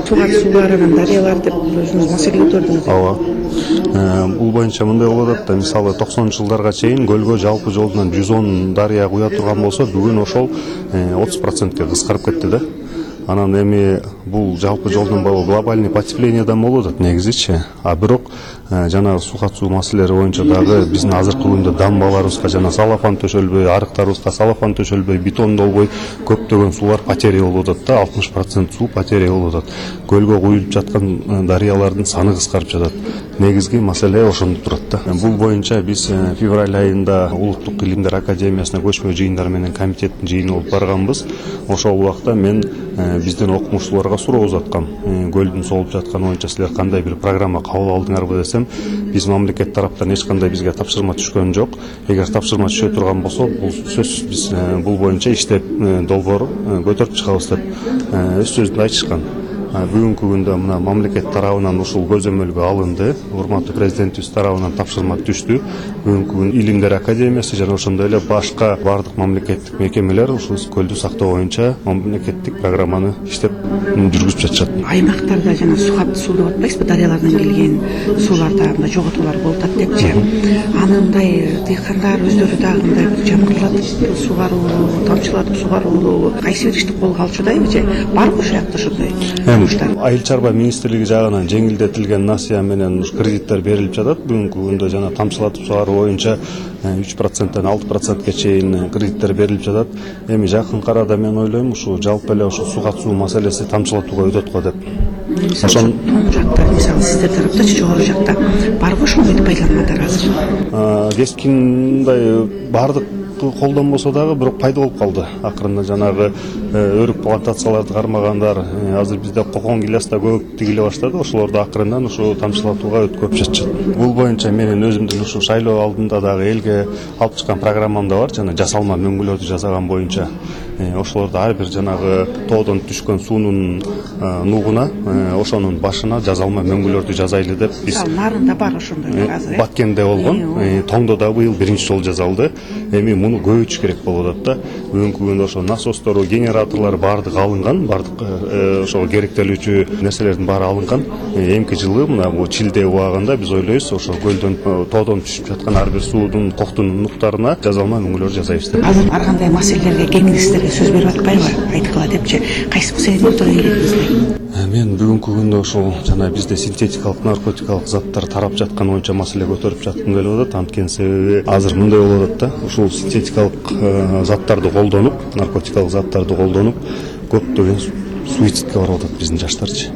Суу катышуулар, дарыялар деп өзүңүз маселе көтөрдүңүз. Ооба. Бул боюнча мындай болуп атат да, мисалы 90-жылдарга чейин көлгө жалпы жолунан 110 дарыя куя турган болсо, бүгүн ошол 30%ке кыскарып кетти да. Анан эми бул жалпы жолдон баягы глобальный потеплениедан болуп атат негизичи. А бирок жанагы суу катышуу маселелери боюнча дагы биздин азыркы күндө дамбаларыбызга жана салафан төшөлбөй, арыктарыбызга салафан төшөлбөй, бетондолбой көптөгөн суулар потеря болуп атат да, 60% суу потеря болуп атат. Көлгө куюлуп жаткан дарыялардын саны кыскарып жатат. Негизги маселе ошондо турат да. Бул боюнча биз февраль айында Улуттук илимдер академиясына көчмө жыйындар менен комитеттин жыйыны болуп барганбыз. Ошол убакта мен биздин окумуштууларга суроо узаткам. Көлдүн соолуп жатканы боюнча силер кандай бир программа кабыл алдыңарбы десем, биз мамлекет тараптан эч кандай бизге тапшырма түшкөн жок. Эгер тапшырма түшө турган болсо, бул сөзсүз биз бул боюнча иштеп долбоор көтөрүп чыгабыз деп өз сөзүндө айтышкан. Бүгүнкү күндө мына мамлекет тарабынан ушул көзөмөлгө алынды. Урматтуу президентибиз тарабынан тапшырма түштү. Бүгүнкү күндө Илимдер академиясы жана ошондой эле башка бардык мамлекеттик мекемелер ушул көлдү сактоо боюнча мамлекеттик программаны иштеп жүргүзүп жатышат. Аймактарда жана суу деп атпайсызбы, дарыялардан келген сууларда мындай жоготуулар болуп атат депчи. Анандай дыйкандар өздөрү дагы мындай жамгырлатып сугаруулу, тамчылатып сугаруулу кайсы бир ишти колго алчудайбы же барбы ушул жакта ошондой? Айыл чарба министрлиги жагынан жеңилдетилген насыя менен кредиттер берилип жатат. Бүгүнкү күндө жана тамчылатып сугаруу боюнча 3%-тен 6%-ке чейин кредиттер берилип жатат. Эми жакын арада мен ойлойм ушу жалпы эле ушу суу катышуу маселеси тамчылатууга өтөт го деп. Ошон жакта мисалы сиздер тараптачы жогору жакта барбы ошондойду пайдалангандар азыр? Кескиндай бардык колдонбосо дагы бирок пайда болуп калды. Акырында жанагы өрүк плантацияларды кармагандар, азыр бизде кокон гиляс да көп тигиле баштады. Ошолорду акырындан ушу тамчылатууга өткөрүп жатышат. Бул боюнча менин өзүмдүн ушу шайлоо алдында дагы элге алып чыккан программам да бар, жана жасалма мөңгүлөрдү жасаган боюнча. Ошолорду ар бир жанагы тоодон түшкөн суунун нугуна, ошонун башына жасалма мөңгүлөрдү жазайлы деп биз нарында бар ошондой азыр. Баткенде болгон, Тоңдо да быйыл биринчи жолу жасалды. Эми муну көбөйтүш керек болуп атат да. Бүгүнкү күндө ошо насостору, генераторлор бардыгы алынган, бардык ошо керектелүүчү нерселердин баары алынган. Эмки жылы мына бул чилде убагында биз ойлойбуз ошо көлдөн, тоодон түшүп жаткан ар бир суудун коктун нуктарына жазалма мөңгүлөр жасайбыз деп. Азыр ар кандай маселелерге кеңестерге сөз берип атпайбы? Айткыла депчи. Кайсы маселени ортого келдиңиздер? Мен бүгүнкү күндө ошол жана бизде синтетикалык наркотикалык заттар тарап жаткан боюнча маселе көтөрүп жаткым келип атат. Анткени себеби азыр мындай болуп атат да. Ушул синтетикалык заттарды колдонуп, наркотикалык заттарды колдонуп көптөгөн суицидке барып атат биздин жаштарчы.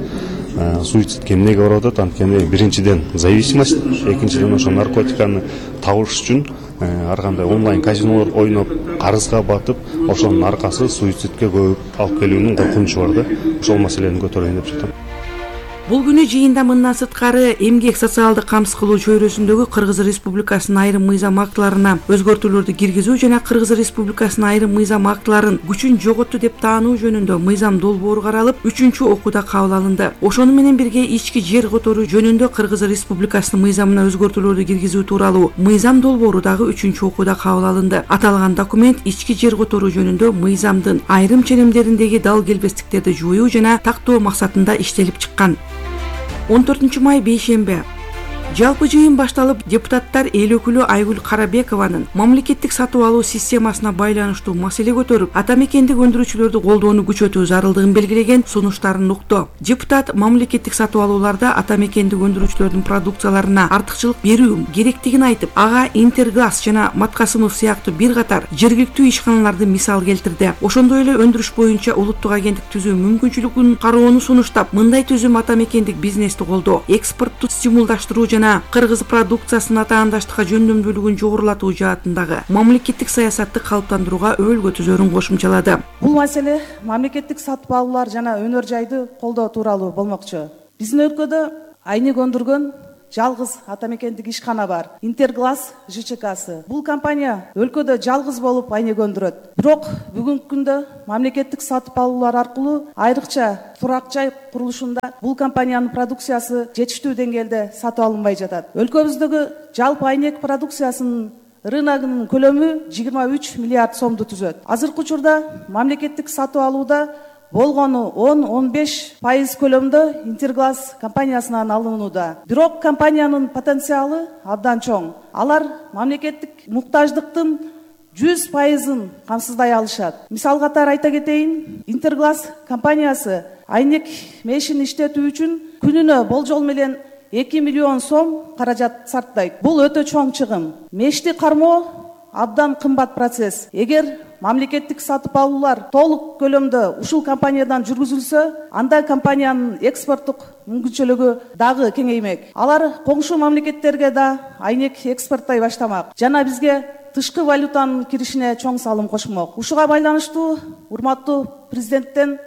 Суицидке эмнеге барып атат? Анткени биринчиден зависимость, экинчиден ошо наркотиканы табыш үчүн ар кандай онлайн казинолор ойноп, карызга батып, ошонун аркасы суицидке көп алып келүүнүн коркунучу бар да. Ошол маселени көтөрөйүн деп жатам. Бул күнү жыйында мындан сырткары эмгек социалдык камсыз кылуу чөйрөсүндөгү Кыргыз Республикасынын айрым мыйзам актыларына өзгөртүүлөрдү киргизүү жана Кыргыз Республикасынын айрым мыйзам актыларын күчүн жоготту деп таануу жөнүндө мыйзам долбоору каралып, 3-чү окууда кабыл алынды. Ошону менен бирге ички жер которуу жөнүндө Кыргыз Республикасынын мыйзамына өзгөртүүлөрдү киргизүү тууралуу мыйзам долбоору дагы 3-чү окууда кабыл алынды. Аталган документ ички жер которуу жөнүндө мыйзамдын айрым ченемдериндеги дал келбестиктерди жоюу жана тактоо максатында иштелип чыккан. 14 май бейшембе. Жалпы жыйын башталып, депутаттар эл өкүлү Айгүл Карабекованын мамлекеттик сатып алуу системасына байланыштуу маселе көтөрүп, ата мекендик өндүрүүчүлөрдү колдоону күчөтүү зарылдыгын белгилеген сунуштарын укту. Депутат мамлекеттик сатып алууларда ата мекендик өндүрүүчүлөрдүн продукцияларына артыкчылык берүү керектигин айтып, ага Интерглаз жана Маткасымов сыяктуу бир катар жергиликтүү ишканаларды мисал келтирди. Ошондой эле өндүрүш боюнча улуттук агенттик түзүү мүмкүнчүлүгүн кароону сунуштап, мындай түзүм ата мекендик бизнести колдоо, экспортту стимулдаштыруу жана кыргыз продукциясынын атаандаштыкка жөндөмдүүлүгүн жогорулатуу жаатындагы мамлекеттик саясатты калыптандырууга өбөлгө түзөрүн кошумчалады. Бул маселе мамлекеттик сатып алуулар жана өнөр жайды колдоо тууралуу болмокчу. Биздин өлкөдө айнек өндүргөн жалгыз ата мекендик ишкана бар. Интерглаз ЖЧКсы. Бул компания өлкөдө жалгыз болуп айнек өндүрөт. Бирок бүгүнкү күндө мамлекеттик сатып алуулар аркылуу айрыкча турак жай курулушунда бул компаниянын продукциясы жетиштүү деңгээлде сатып алынбай жатат. Өлкөбүздөгү жалпы айнек продукциясынын рыногунун көлөмү 23 миллиард сомду түзөт. Азыркы учурда мамлекеттик сатып алууда болгону 10-15% көлөмдө Интерглаз компаниясынан алынууда. Бирок компаниянын потенциалы абдан чоң. Алар мамлекеттик муктаждыктын 100% камсыздай алышат. Мисал катары айта кетейин, Интерглаз компаниясы айнек мешин иштетүү үчүн күнүнө болжол менен 2 миллион сом каражат сарптайт. Бул өтө чоң чыгым. Мешти кармоо абдан кымбат процесс. Эгер мамлекеттик сатып алуулар толук көлөмдө ушул компаниядан жүргүзүлсө, анда компаниянын экспорттук мүмкүнчүлүгү дагы кеңеймек. Алар коңшу мамлекеттерге да айнек экспорттой баштамак жана бизге тышкы валютанын киришине чоң салым кошмок. Ушуга байланыштуу урматтуу президенттен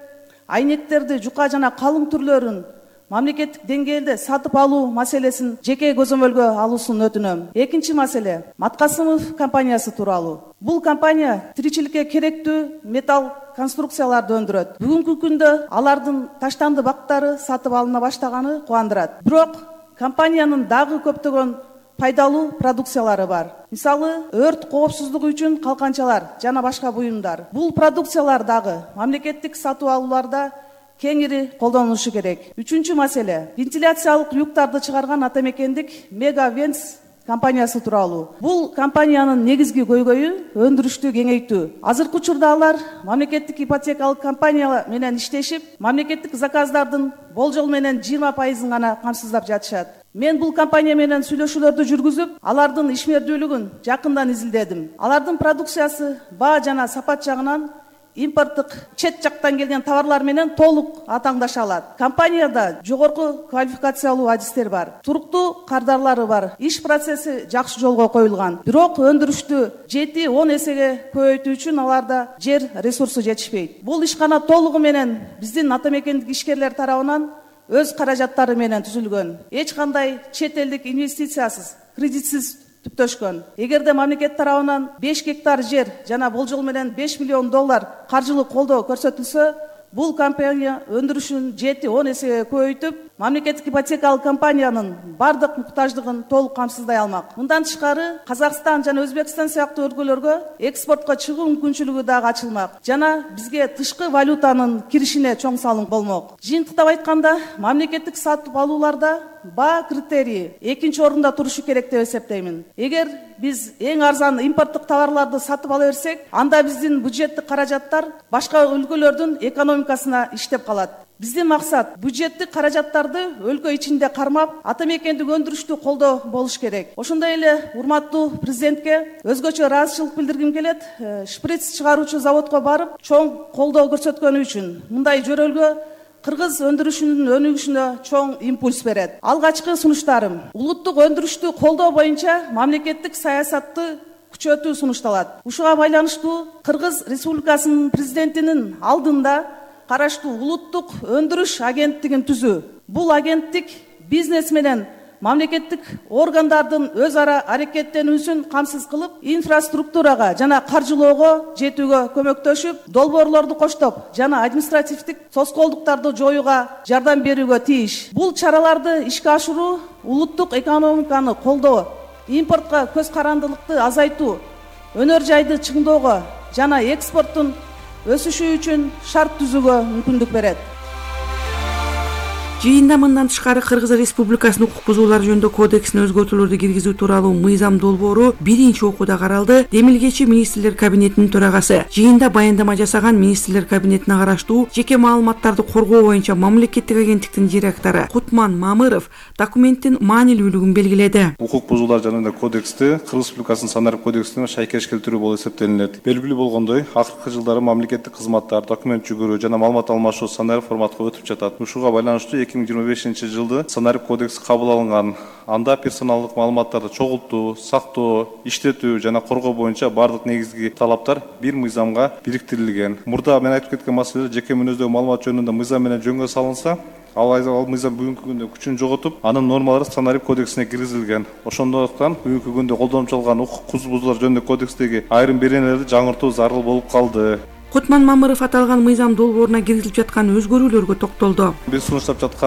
айнектерди жука жана калың түрлөрүн мамлекеттик деңгээлде сатып алуу маселесин жеке көзөмөлгө алуусун өтүнөм. Экинчи маселе Маткасымов компаниясы тууралуу. Бул компания тиричиликке керектүү металл конструкцияларды өндүрөт. Бүгүнкү күндө алардын таштанды бактары сатып алына баштаганы кубандырат. Бирок компаниянын дагы көптөгөн пайдалуу продукциялары бар. Мисалы, өрт коопсуздугу үчүн калканчалар жана башка буюмдар. Бул продукциялар дагы мамлекеттик сатып алууларда кеңири колдонулушу керек. Үчүнчү маселе вентиляциялык люктарды чыгарган атамекендик Мега Венс компаниясы тууралуу. Бул компаниянын негизги көйгөйү өндүрүштү кеңейтүү. Азыркы учурда алар мамлекеттик ипотекалык компания менен иштешип, мамлекеттик заказдардын болжол менен 20% гана камсыздап жатышат. Мен бул компания менен сүйлөшүүлөрдү жүргүзүп, алардын ишмердүүлүгүн жакындан изилдедим. Алардын продукциясы баа жана сапат жагынан импорттук чет жактан келген товарлар менен толук атаңдаша алат. Компанияда жогорку квалификациялуу адистер бар. Туруктуу кардарлары бар. Иш процесси жакшы жолго коюлган. Бирок өндүрүштү 7-10 эсеге көбөйтүү үчүн аларда жер ресурсу жетишпейт. Бул ишкана толугу менен биздин атамекендик ишкерлер тарабынан өз каражаттары менен түзүлгөн. Эч кандай чет элдик инвестициясыз, кредитсиз түптөшкөн. Эгерде мамлекет тарабынан 5 гектар жер жана болжол менен $5 миллион каржылык колдоо көрсөтүлсө, бул компания өндүрүшүн 7-10 эсеге көбөйтүп, мамлекеттик ипотекалык компаниянын бардык муктаждыгын толук камсыздай алмак. Мындан тышкары, Казакстан жана Өзбекстан сыяктуу өлкөлөргө экспортко чыгуу мүмкүнчүлүгү дагы ачылмак жана бизге тышкы валютанын киришине чоң салым болмок. Жыйынтыктап айтканда, мамлекеттик сатып алууларда баа критерии экинчи орунда турушу керек деп эсептеймин. Эгер биз эң арзан импорттук товарларды сатып ала берсек, анда биздин бюджеттик каражаттар башка өлкөлөрдүн экономикасына иштеп калат. Биздин максат бюджеттик каражаттарды өлкө ичинде кармап, атамекендик өндүрүштү колдоо болуш керек. Ошондой эле урматтуу президентке өзгөчө ыраазычылык билдиргим келет. Шприц чыгаруучу заводко барып, чоң колдоо көрсөткөнү үчүн. Мындай жөрөлгө кыргыз өндүрүшүнүн өнүгүшүнө чоң импульс берет. Алгачкы сунуштарым улуттук өндүрүштү колдоо боюнча мамлекеттик саясатты күчөтүү сунушталат. Ушуга байланыштуу Кыргыз Республикасынын президентинин алдында караштуу улуттук өндүрүш агенттигин түзүү. Бул агенттик бизнес менен мамлекеттик органдардын өз ара аракеттенүүсүн камсыз кылып, инфраструктурага жана каржылоого жетүүгө көмөктөшүп, долбоорлорду коштоп жана административдик тоскоолдуктарды жоюуга жардам берүүгө тийиш. Бул чараларды ишке ашыруу улуттук экономиканы колдоо, импортко көз карандылыкты азайтуу, өнөр жайды чыңдоого жана экспорттун өсүшү үчүн шарт түзүүгө мүмкүндүк берет. Жыйында мындан тышкары Кыргыз Республикасынын укук бузуулар жөнүндө кодексине өзгөртүүлөрдү киргизүү тууралуу мыйзам долбоору биринчи окууда каралды. Демилгечи министрлер кабинетинин төрагасы жыйында баяндама жасаган министрлер кабинетине караштуу жеке маалыматтарды коргоо боюнча мамлекеттик агенттиктин директору Кутман Мамыров документтин маанилүүлүгүн белгиледи. Укук бузуулар жөнүндө кодексти Кыргыз Республикасынын санарип кодексине шайкеш келтирүү болуп эсептелинет. Белгилүү болгондой, акыркы жылдары мамлекеттик кызматтар, документ жүгүрүү жана маалымат алмашуу санарип форматка өтүп жатат. Ушуга байланыштуу 2025 жылды санарип кодекси кабыл алынган. Анда персоналдык маалыматтарды чогултуу, сактоо, иштетүү жана коргоо боюнча бардык негизги талаптар бир мыйзамга бириктирилген. Мурда мен айтып кеткен маселелер жеке мүнөздөгү маалымат жөнүндө мыйзам менен жөнгө салынса, ал мыйзам бүгүнкү күндө күчүн жоготуп, анын нормалары санарип кодексине киргизилген. Ошондуктан бүгүнкү күндө колдонуп чалган укук бузуулар жөнүндө кодекстеги айрым беренелерди жаңыртуу зарыл болуп калды. Кутман Мамыров аталган мыйзам долбооруна киргизилип жаткан өзгөрүүлөргө токтолду. Биз сунуштап жаткан